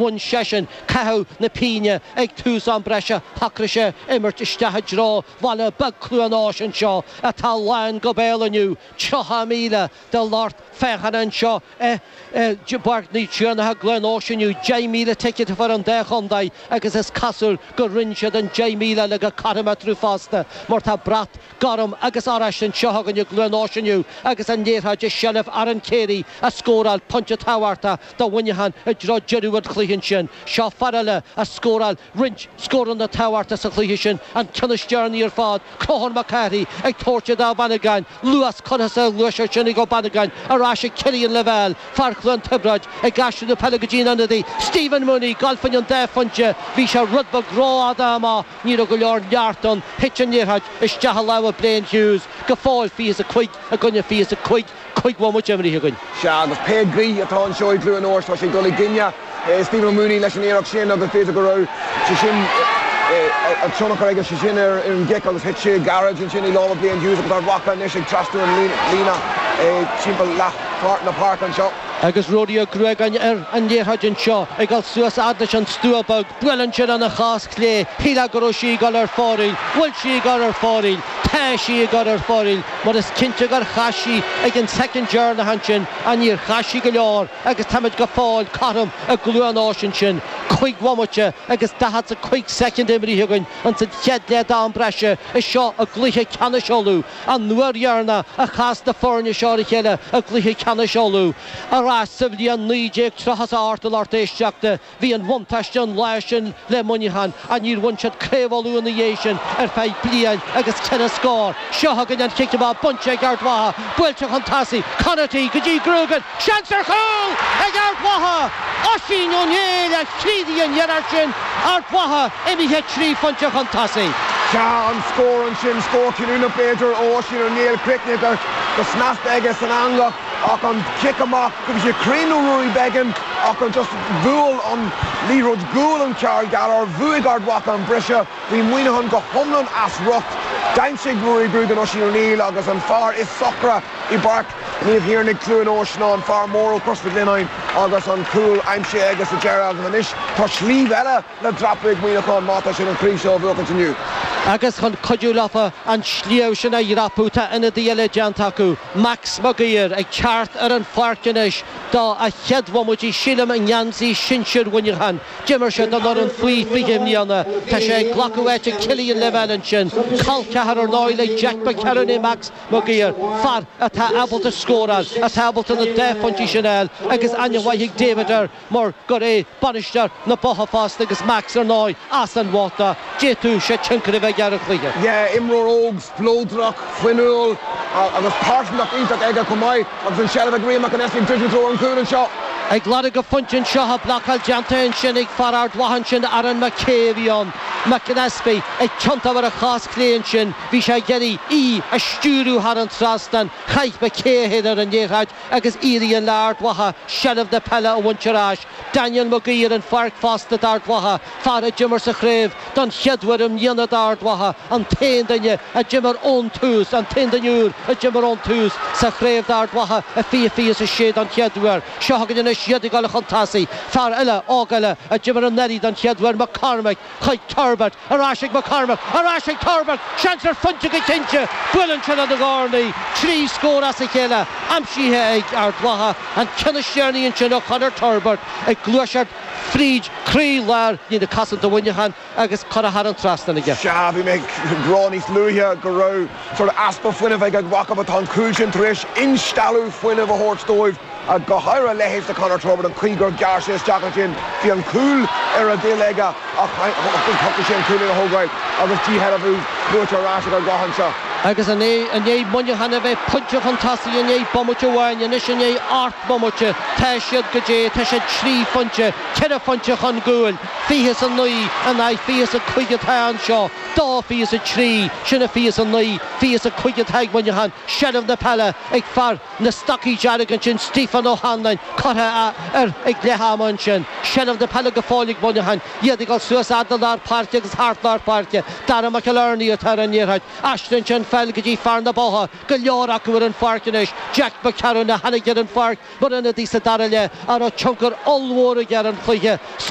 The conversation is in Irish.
Bhain seisean caitheamh na pínne ag tús am breise. Shocraigh sé imirt isteach i dtreo bhaile beag Chluain Eois anseo atá lán go béal inniu, 30,000 de lucht féachana anseo i bPáirc Naomh Tiarnach i gCluain Eois inniu, 10,000 ticéad a fuair an dá chontae agus is cosúil gur roinn siad an 10,000 eile go cothrom eatarthu fosta mar tá brat gorm agus oráiste anseo againn i gCluain Eois inniu agus an liathróid i seilbh Aaron Carey a scóráil pointe tábhachtach do Mhuineachán i dtreo deireadh an chluiche ansin. Seo fear eile a scóráil roinnt scóranna tábhachtacha sa chluiche sin, an ceann is deireanaí ar fad, Conchúr Mac Cárthaigh ag tabhairt do Ó Bannagáin, luas curtha sa ghluaiseacht sin ag Ó Bannagáin, ar ais ag Cillian Lavelle, fear Chluain Tiobraid, ag aistriú na peile go dtí an ionadaí, Stephen Mooney, ag dul fá choinne an dá phointe, bhí sé rud beag rófhada amach, ní raibh go leor neart ann, thit an liathróid isteach i lámha Blaine Hughes, go fóill 25 i gcoinne 25. 5 bhomaite imeartha againn. Sea, agus pé gaoth atá anseo i gCluain Eois, tá sé ag dul i gcoinne Stephen Mooney leis an iarracht sin agus b'fhéidir go raibh sé sin an tionchar aige sé sin ar an gcic agus thit sé gairid ansin i lámha Blaine Hughes agus Ard Mhacha anois ag trasnú an líne timpeall leath na páirce anseo. Agus Ruairí Ó Gruagáin ar an liathróid anseo ag dul suas fhad leis an stua beag. Buaileann sé lena chos chlé. Shílfeá go raibh sí ag dul ar fóraoil. Bhfuil sí ag dul ar fóraoil? Tá sí ag dul ar fóraoil mar is cinnte gur chas sí ag an soicind deireanach ansin ach níor chas sí go leor agus táimid go fóill cothrom i gCluain Eois ansin. 5 bhomaite agus 45 soicind imrithe againn ins an chéad leath d'am breise is seo i gcluiche ceannais Uladh. An uair dheireanach a chas na foirne seo ar a chéile i gcluiche ceannais Uladh ar ais sa bhliain 1938 a lucht éisteachta. Bhí an bhuntáiste an lá sin le Muineachán ach níor bhain siad Craobh Uladh ina dhiaidh sin ar feadh bliain agus ceithre scór. Seo chugainn an chic amach bainte ag Ard Mhacha, buailte chun tosaigh, Conaty go dtí Grugan, seans ar chúl ag Ard Mhacha! Oisín Ó Néill a chríochnaigh an iarracht sin, Ard Mhacha imithe trí phointe chun tosaigh. Sea, an scór ansin, scór cinniúnach b'fhéidir ó Oisín Ó Néill, críochnaithe go snasta aige san eangach. Ach an cic amach, bhí sé cruinn ó Ruairí Beggan ach an just bhuail an liathróid gualainn Karl Gallagher, bhuaigh Ard Mhacha an briseadh, bhí Muineachán go hiomlán as riocht. D'aimsigh Ruairí Grugan Oisín O'Neill agus an fear is socra i bPáirc Naomh Thiarnaigh Cluain Eois ná an fear mór ó Chros Mhic Lionnáin agus an cúl aimsithe aige sa deireadh agus anois tá sliabh eile le dreapadh ag Muineachán má tá siad an chraobh seo a bhuachaint inniu. Agus chun cuidiú leofa an sliabh sin a dhreapadh tá ionadaí eile déanta acu, Max Mag Uidhir ag teacht ar an pháirc anois do a chéad bhomaití sílim i ngeansaí sinsir Mhuineacháin. D'imir sé don fhoireann faoi 20 i mbliana. Tá sé ag glacadh áite Cillian Lavelle ansin. Col ceathar ar ndóigh le Jack McCarron é Max Mag Uidhir, fear atá ábalta scóráil, atá ábalta na dá phointí sin a fháil agus aithne mhaith ag David air. mar gur é bainisteoir na Botha fosta agus Max ar ndóigh as an Bhotha, d'fhéadfadh sé tionchar a bheith aige ar an chluiche. Yeah, imreoir óg, spleodrach, fuinniúil agus pearsantacht iontach aige chomh maith agus an seilbh ag Rian McAnespie ag druidim i dtreo an chúil anseo. Ag lorg a phointe anseo, tá blocáil déanta ansin ag fear Ard Mhacha ansin, Aaron McKay a bhí ann. McAnespie ag tiontú ar a chos chlé ansin, bhí sé ag iarraidh í a stiúradh thar an trasnán, chaith McKay é féin ar an liathróid agus éiríonn le Ard Mhacha seilbh na peile a bhaint ar ais. Daniel Magee ar an pháirc fosta d'Ard Mhacha, fear a d'imir sa chraobh don chéad uair i mbliana d'Ard Mhacha, an t-aon duine a d'imir ón tús, an t-aon duine úr a d'imir ón tús sa chraobh d'Ard Mhacha i 2026 don chéad uair. Seo chugainn anois iad ag dul chun tosaigh. Fear eile, óg eile, a d'imir anuraidh don chéad uair, McCormack. Chuig Turbert, ar ais ag McCormack, ar ais ag Turbert, seans ar phointe go cinnte! Buaileann sé lena dhornaí, 3 scór as a chéile aimsithe ag Ard Mhacha, an ceann is deireanaí ansin ó Chonor Turbert ag gluaiseacht fríd croí-lár líne cosanta Mhuineacháin agus curtha thar an trasnán aige. Sea, bhí mé ag rá níos luaithe go raibh sort of easpa fuinnimh ag Ard Mhacha but tá an cúl sin tar éis instealladh fuinnimh a thabhairt dóibh. Go háirithe a leithéid de Conor Turbitt, an chaoi gur ghearr sé isteach ansin, bhí an cúl ar a dtoil aige ach shocraigh sé an cúl sin a thógáil agus díshealbhú buaite ar ais ag Ard Mhacha anseo. Agus i ndiaidh Muineachán a bheith pointe chun tosaigh i ndiaidh bomaite amháin, anois i ndiaidh 8 mbomaite, tá siad goidé, tá siad 3 phointe, 4 phointe chun gcúil, 29 in aghaidh 25 atá anseo, 2 23, sin a 29, 25 atá ag Muineachán, seilbh na peile ag fear na stocaí dearga ansin, Stephen O'Hanlon curtha air ag leath ama ansin. Seilbh na peile go fóill ag Muineachán. Iad ag dul suas fhad le lár páirce agus thart lár páirce. Dara McInerney atá ar an liathróid. Aistríonn sé an pheil go dtí fear na Botha. Go leor acu ar an pháirc anois. Jack McCarron a tháinig ar an pháirc mar ionadaí sa dara leath a raibh tionchar ollmhór aige ar an chluiche.